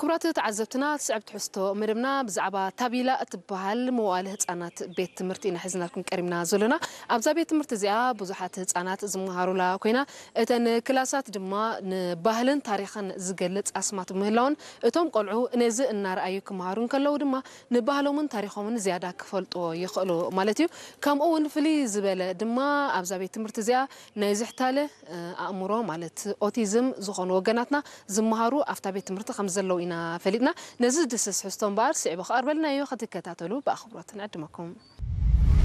ክቡራት ተዓዘብትና፣ ትስዕብ ትሕዝቶ መደብና ብዛዕባ ታቢላ እትበሃል መዋእለ ህጻናት ቤት ትምህርቲ ኢና ሒዝናልኩም ቀሪብና ዘሎና። ኣብዛ ቤት ትምህርቲ እዚኣ ብዙሓት ህጻናት ዝመሃሩላ ኮይና፣ እተን ክላሳት ድማ ንባህልን ታሪኽን ዝገልጽ ኣስማት ምህላውን፣ እቶም ቆልዑ ነዚ እናረኣዩ ክመሃሩ እንከለዉ ድማ ንባህሎምን ታሪኾምን ዝያዳ ክፈልጥዎ ይኽእሉ ማለት እዩ። ከምኡ እውን ፍልይ ዝበለ ድማ ኣብዛ ቤት ትምህርቲ እዚኣ ናይ ዝሕታለ ኣእምሮ ማለት ኦቲዝም ዝኾኑ ወገናትና ዝመሃሩ ኣብታ ቤት ትምህርቲ ከም ዘለዉ ኢና ፈሊጥና። ነዚ ዝድስስ ሕዝቶ እምበኣር ስዒቡ ክቐርበልና እዩ፣ ክትከታተሉ ብኣኽብሮት ንዕድመኩም።